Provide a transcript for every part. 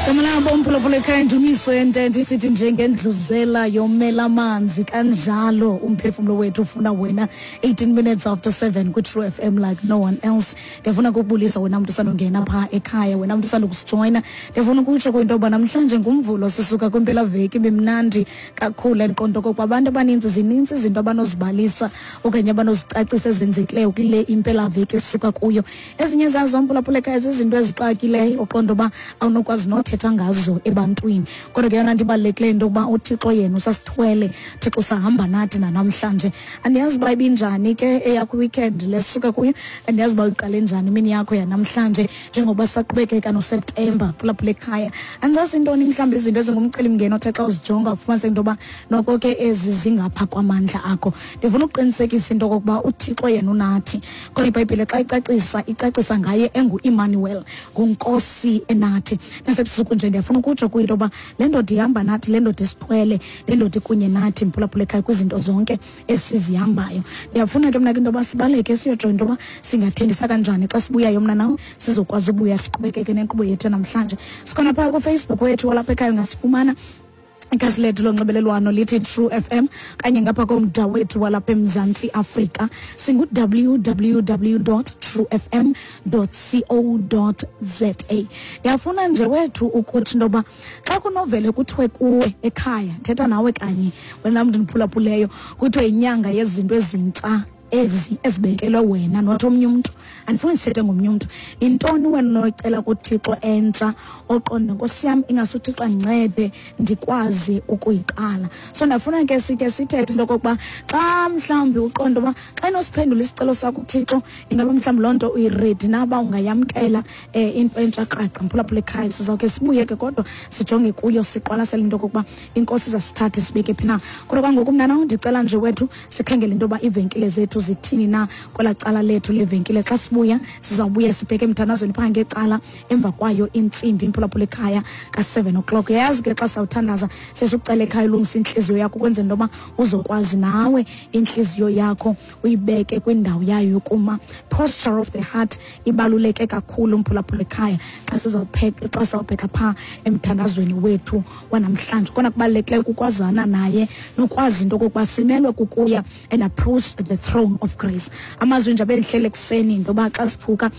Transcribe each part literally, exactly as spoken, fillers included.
Kamlabo umphulaphula ekhaya, indumiso yentente isithi njengendluzela yomela amanzi kanjalo umphefumlo wethu ufuna wena. eighteen minutes after seven kwi-True F M like no one else. Ndiyafuna ukubulisa wena mntu usandongena phaa ekhaya, wena mntu usandokusijoyina. Ndiyafuna ukutsho kwinto yoba namhlanje nguMvulo, sisuka kwimpelaveki ibimnandi kakhulu. Endiqonda okokuba abantu abaninzi zininzi izinto abanozibalisa okanye abanozicacisa ezenzekileyo kule impelaveki esisuka kuyo. Ezinye zazo, mphulaphula ekhaya, zizinto ezixakileyo uqonda uba awunokwazi nothetha ngazo ebantwini, kodwa ke yona nto ibalulekileyo into yokuba uThixo yena usasithwele, Thixo usahamba nathi nanamhlanje. Andiyazi uba ibinjani ke eyakho weekend lesuka kuyo, andiyazi uba uyiqale njani imini yakho yanamhlanje njengoba saqhubekeka noSeptemba. Phulaphula ekhaya, andizazi intoni mhlawumbi izinto ezingumcelimngeni othe xa uzijonga ufumanise into yoba noko ke ezi zingapha kwamandla akho. Ndifuna ukuqinisekisa into okokuba uThixo yena unathi. Kodwa iBhayibhile xa icacisa, icacisa ngaye enguImmanuel, nguNkosi enathi. Nasebusuku nje ndiyafuna ukutsho kwinto yoba le ndoda ihamba nathi, le ndoda isithwele, le ndoda ikunye nathi, mphulaphula ekhaya, kwizinto zonke esizihambayo. Ndiyafuna ke mna ke into yoba sibaleke siyojonga into yoba singathengisa kanjani. Xa sibuyayo mna nawe sizokwazi ubuya siqhubekeke nenkqubo yethu namhlanje. Sikhona phaa kuFacebook wethu walapha ekhaya, ungasifumana, ikhasi lethu lonxibelelwano lithi True F M, kanye ngapha komda wethu walapha eMzantsi Afrika singu W W W true F M co za. Ndiyafuna nje wethu ukuthi into yoba xa kunovele kuthiwe kuwe ekhaya, thetha nawe kanye wena mntu ndiphulaphuleyo, kuthiwe yinyanga yezinto ezintsha ezi ezibekelwe wena, not omnye umntu, andifuni sithethe ngomnye umntu, yintoni wena onoyicela kuThixo entsha oqonde, "Nkosi yam, ingase uThixo andincede ndikwazi ukuyiqala"? So ndafuna ke sike sithethe into okokuba xa mhlawumbi uqonde uba xa inosiphendula isicelo sakho uThixo, ingaba mhlawumbi loo nto uyi-ready na uba ungayamkela um into entsha kraca? Mphulaphula ekhaya, sizawukhe sibuye ke kodwa sijonge kuyo, siqwalasele into okokuba iNkosi izasithatha sibeke phi na. Kodwa kwangoku mna nawe ndicela nje wethu sikhangele into yoba iivenkile zethu zithini na kwelaa cala lethu levenkile. Xa sibuya sizawubuya sibheke emthandazweni phaa ngecala emva kwayo intsimbi, imphulaphula ekhaya, ka-seven o'clock. Uyayazi ke, xa sawuthandaza sesikucela ekhaya ulungisa intliziyo yakho ukwenzela into yoba uzokwazi nawe intliziyo yakho uyibeke kwindawo yayo yokuma. Posture of the heart ibaluleke kakhulu, mphulaphula ekhaya, xa sizawupheka, xa sizawubheka phaa emthandazweni wethu wanamhlanje. Kona kubalulekileyo kukwazana naye nokwazi into okokuba simelwe kukuya and approach the throne of grace. Amazwi nje abendihlele ekuseni into yoba xa sivuka,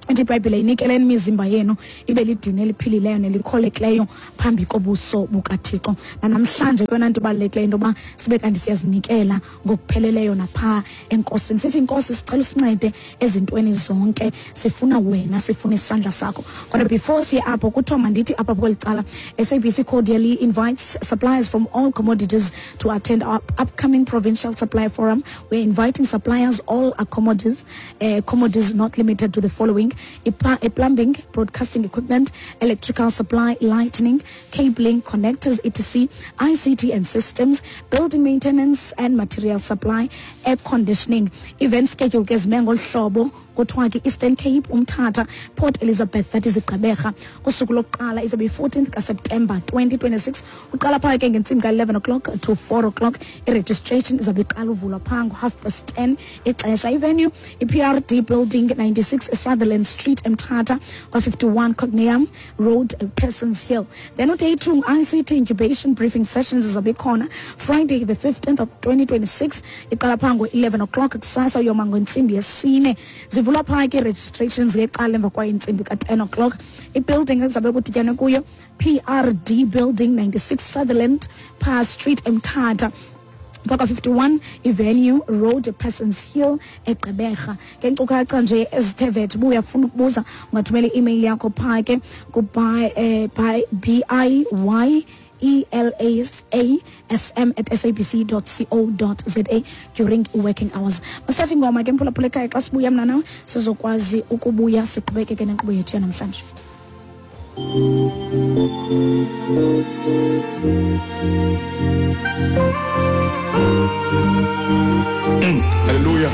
ithi iBhayibhile, "Inikeleni imizimba yenu ibe lidini eliphilileyo nelikholekileyo phambi kobuso bukaThixo." Nanamhlanje kuyona nto ibalulekileyo into yoba sibe kanti siyazinikela ngokupheleleyo naphaa eNkosini, sithi, "Inkosi, sicela usincede ezintweni zonke, sifuna wena, sifuna isandla sakho." Kodwa before siye apho, kuthiwa mandithi apha kweli cala, S A B C cordially invites suppliers from all commodities to attend our upcoming provincial supply forum. We're inviting suppliers all commodities, uh, commodities not limited to the following: a plumbing, broadcasting equipment, electrical supply, lightning, cabling, connectors, et cetera, I C T and systems, building maintenance and material supply, air conditioning. Event schedule ke zime ngolu hlobo. Kuthiwa ke Eastern Cape, Umthatha, Port Elizabeth, that is iGqeberha. Kusuku lokuqala izabe yi-fourteenth kaSeptemba twenty twenty-six, uqala phaa ke ngentsimbi ka-eleven o'clock to four o'clock. I-registration izabe iqala uvulwa phaa ngo-half past ten ixesha. Ivenue, i-P R D Building, ninety-six Sutherland Street, Emthatha, kwa-fifty-one Cognium Road, Persons Hill. Then uday two, I C T incubation briefing sessions izabe ikhona Friday the fifteenth of twenty twenty-six, iqala phaa ngo-eleven o'clock kusasa uyoma ngentsimbi yesine. Zivulwa phaa ke registrations ngeqala emva kwayo intsimbi ka-ten o'clock. Ibuilding ekuzabe kudityanwe kuyo, P R D Building, ninety-six Sutherland Pa Street, Emthatha, Mpaka fifty-one Avenue Road, Persons Hill, eGqeberha. Ngenkcukacha nje ezithe vetshe, uba uyafuna ukubuza, ungathumela i-email yakho phaa ke ku-by eh, by b i y E L A S A S M at S A B C dot co dot za during working hours. Masithi ingoma ke, mphulaphula ekhaya. Xa sibuya mna nawe sizokwazi ukubuya siqhubekeke nenkqubo yethu yanamhlanje. Hallelujah.